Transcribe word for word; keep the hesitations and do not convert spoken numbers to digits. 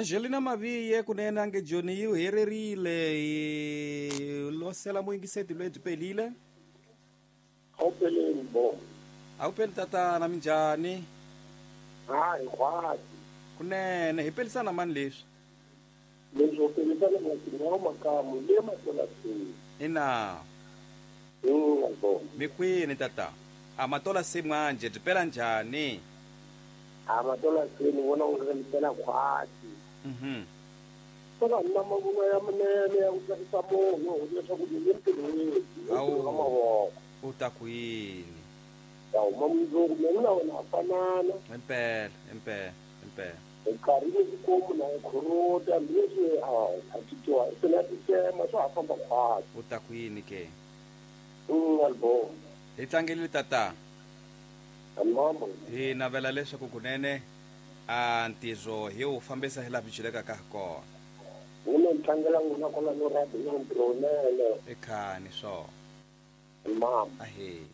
Angelina Maviye kunene ange Joni yi hererile losela muyingiseti loyi byi pelile. Awupeleni bo. Awupeli tatana minjhani? Hayi khwati. Kunene hi pelisana mani leswi? Leswi u pelisana na makamu le matolasini. Ina. Mm bo. Mi kwini tata? A matola se manje byi pela njhani? A matola se ni vona u ri pela khwati. Mhm. Kona na mavunwa ya munene ya ku tsakisa munhu leswaku ni le ntirhweni. Awu. U ta ku yini? Ya huma mundzuku mina na wena ha fanana. Impela, impela, impela. Nkarhi ni xikomu na khorota leswi a a titwa se na titsema swa ha famba khwati. U ta ku yini ke? Mm albo. Hi tlangelile tata. Mama. Hi navela leswaku kunene a ntirho hi wu fambisa hi laha byi ka kona. Mina ni tlangela n'wina kwala no rhabi na ntirho wunene. I khani swona. Mama. Ahee.